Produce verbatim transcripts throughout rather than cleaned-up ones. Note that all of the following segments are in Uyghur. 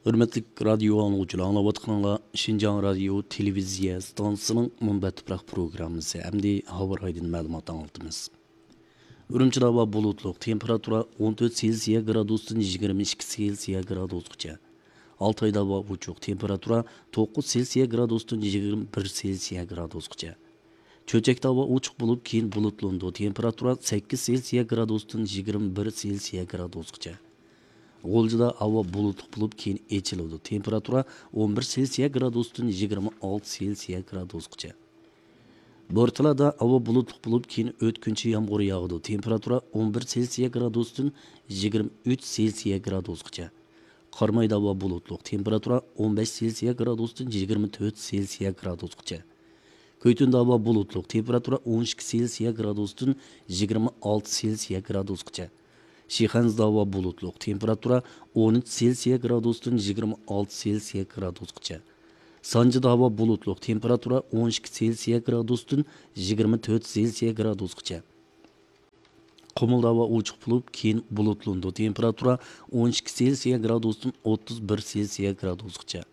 ھۆرمەتلىك رادىيو ئاڭلىغۇچىلار، ئاڭلاۋاتقىنىڭلار شىنجاڭ رادىيو تېلېۋىزىيە ئىستانسىسىنىڭ مۇنبەت تۇپراق پروگراممىسى. ئەمدى ھاۋا رايىدىن مەلۇمات ئاڭلىتىمىز. ئۈرۈمچىدە ھاۋا بۇلۇتلۇق، تېمپېراتۇرا ئون تۆت سېلسىيە گرادۇستىن يىگىرمە ئىككى سېلسىيە گرادۇسقىچە. ئالتايدا ھاۋا ئوچۇق، تېمپېراتۇرا توققۇز سېلسىيە گرادۇستىن يىگىرمە بىر سېلسىيە گرادۇسقىچە. چۆچەكتە ھاۋا ئوچۇق بولۇپ، كېيىن بۇلۇتلىنىدۇ، تېمپېراتۇرا سەككىز سېلسىيە گرادۇستىن يىگىرمە بىر سېلسىيە گرادۇسقىچە. غۇلجىدا ھاۋا بۇلۇتلۇق بولۇپ، كېيىن ئېچىلىدۇ، تېمپېراتۇرا ئون بىر سېلسىيە گرادۇستىن يىگىرمە ئالتە سېلسىيە گرادۇسقىچە. بورتالادا ھاۋا بۇلۇتلۇق بولۇپ، كېيىن ئۆتكۈنچى يامغۇر ياغىدۇ، تېمپېراتۇرا ئون بىر سېلسىيە گرادۇستىن يىگىرمە ئۈچ سېلسىيە گرادۇسقىچە. قارامايدا ھاۋا بۇلۇتلۇق، تېمپېراتۇرا ئون بەش سېلسىيە گرادۇستىن يىگىرمە تۆت سېلسىيە گرادۇسقىچە. كۆيتۈندە ھاۋا بۇلۇتلۇق، تېمپېراتۇرا ئون ئىككى سېلسىيە گرادۇستىن يىگىرمە ئالتە سېلسىيە گرادۇسقىچە. شىخەنزىدە ھاۋا بۇلۇتلۇق، تېمپېراتۇرا ئون ئۈچ سېلسىيە گرادۇستىن يىگىرمە ئالتە سېلسىيە گرادۇسقىچە. سانجىدا ھاۋا بۇلۇتلۇق، تېمپېراتۇرا ئون ئىككى سېلسىيە گرادۇستىن يىگىرمە تۆت سېلسىيە گرادۇسقىچە. قۇمۇلدا ھاۋا ئوچۇق بولۇپ، كېيىن بۇلۇتلىنىدۇ، تېمپېراتۇرا ئون ئىككى سېلسىيە گرادۇستىن ئوتتۇز بىر سېلسىيە گرادۇسقىچە.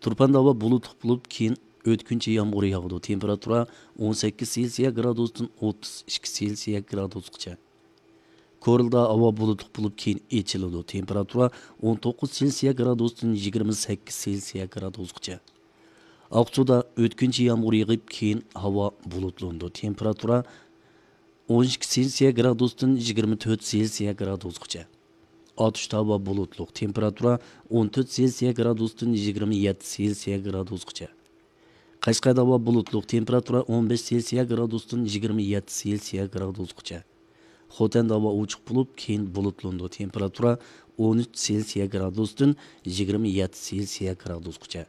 تۇرپاندا ھاۋا بۇلۇتلۇق بولۇپ، كېيىن ئۆتكۈنچى يامغۇر ياغىدۇ، تېمپېراتۇرا ئون سەككىز سېلسىيە گرادۇستىن ئوتتۇز ئىككى سېلسىيە گرادۇسقىچە. كورلىدا ھاۋا بۇلۇتلۇق بولۇپ، كېيىن ئېچىلىدۇ، تېمپېراتۇرا ئون توققۇز سېلسىيە گرادۇستىن يىگىرمە سەككىز سېلسىيە گرادۇسقىچە. ئاقسۇدا ئۆتكۈنچى يامغۇر يېغىپ، كېيىن ھاۋا بۇلۇتلىنىدۇ، تېمپېراتۇرا ئون ئىككى سېلسىيە گرادۇستىن يىگىرمە تۆت سېلسىيە گرادۇسقىچە. ئاتۇشتا ھاۋا بۇلۇتلۇق، تېمپېراتۇرا ئون تۆت سېلسىيە گرادۇستىن يىگىرمە يەتتە سېلسىيە گرادۇسقىچە. قەشقەردە ھاۋا بۇلۇتلۇق، تېمپېراتۇرا ئون بەش سېلسىيە گرادۇستىن يىگىرمە يەتتە سېلسىيە گرادۇسقىچە. خوتەندە ھاۋا ئوچۇق بولۇپ، كېيىن بۇلۇتلىنىدۇ، تېمپېراتۇرا ئون ئۈچ سېلسىيە گرادۇستىن يىگىرمە يەتتە سېلسىيە گرادۇسقىچە.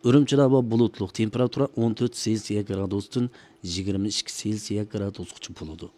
ئۈرۈمچىدە ھاۋا بۇلۇتلۇق، تېمپېراتۇرا ئون تۆت سېلسىيە گرادۇستىن يىگىرمە ئىككى سېلسىيە گرادۇسقىچە بولىدۇ.